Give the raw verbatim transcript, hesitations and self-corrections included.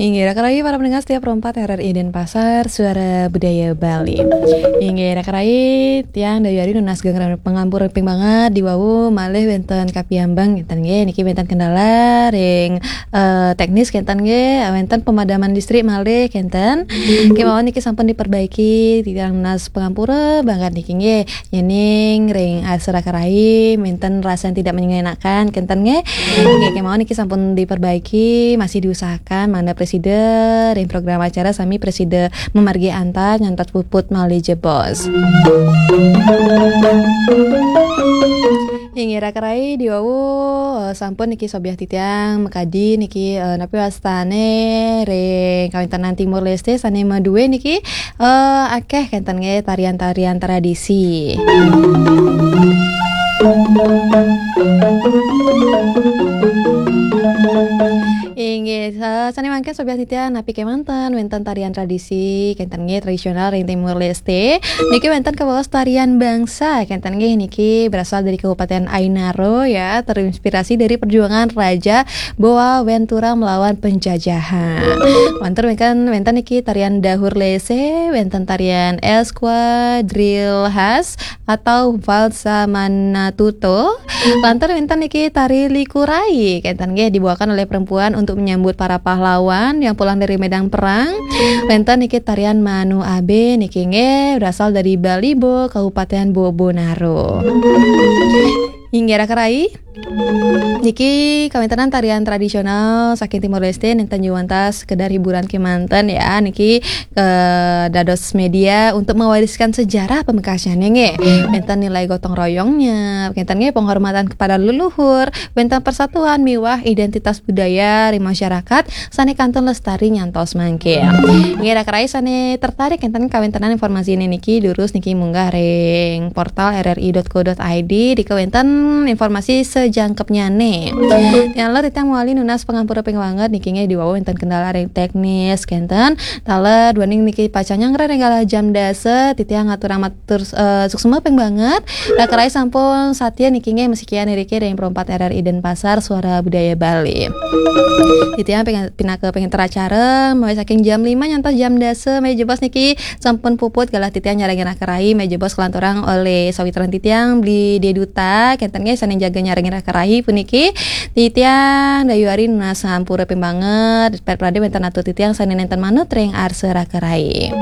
Inggih, raka rayi para pendengar setia Pro empat R R I Denpasar, Suara Budaya Bali. Inggih, raka rayi, tiang Dayu Ari nunas geng pangampura ping banget di wau malih wenten kapiambang kenten nggih. Niki wenten kendala ring, eh, teknis kenten nggih, wenten pemadaman listrik malih kenten. Kemawon niki sampun diperbaiki, tiang nunas pangampura banget niki nggih. Yening ring asra karai, wenten rasa yang tidak mengenakan, kenten nggih. Nggih, kemawon niki sampun diperbaiki, masih diusahakan, mangda presida ring program acara sami presida mamargi antar nyantos puput malih jebos. Inggih, raka rayi di wau, eh, sampun niki sobiah titiang makadi niki, eh, napi wastane ring kawentenan Timor Leste sane madue niki, eh, akeh kenten nggih tarian-tarian tradisi. Inggih, sa-, sane mangkin sobiah titiang napi kemanten wenten tarian tradisi kenten nggih tradisional ring Timor Leste. Niki wenten kabaos tarian bangsa kenten nggih niki berasal dari Kabupaten Ainaro ya, terinspirasi dari perjuangan Raja Boa Ventura melawan penjajahan. Wenten wenten wenten niki tarian Dahur Lese, wenten tarian Esquadrille Khas atau Valsa Manatuto. Lantur wenten niki tari Likurai, kenten nggih dibawakan oleh perempuan untuk menyambut para pahlawan yang pulang dari medan perang. Wenten niki tarian Manu Abe niki nggih berasal dari Balibo, Kabupaten Bobonaro. Inggih raka rayi. Niki kawentenan tarian tradisional saking Timor Leste nenten juwantas sekedar hiburan kemanten ya. Niki, eh, dados media untuk mewariskan sejarah pamekasane nggih. Wenten nilai gotong royongnya, wenten nggih penghormatan kepada leluhur, wenten persatuan miwah identitas budaya ring masyarakat sane kantun lestari nyantos mangkin. Nggih, raka rayi sane tertarik kenten kawentenan informasi ini niki, durus niki munggah ring portal R R I dot co dot I D, dika wenten informasi sejangkepnyane. Tiang ler titiang mawali nunas pangampura ping banget niki nggih di wau wenten kendala ring teknis kenten. Taler duaning niki pacang nyanggra ring galah jam dasa, titiang ngaturang matur, eh, suksma ping banget. Raka rayi sampun satia niki nggih masikian iriki ring Pro empat R R I Denpasar, Suara Budaya Bali. Titiang ping-, pinaka pengenter acara, mulai saking jam lima nyantos jam dasa, malih jebos niki sampun puput galah titiang nyarengin raka rayi, malih jebos kalanturang olih sawitran titiang Bli Deduta, kenten nggih sane jaga nyarengin raka rayi puniki. Titiang Dayu Ari nunas pangampura ping banget, ped prade wenten atur titiang sane nenten manut ring arsa raka rayi.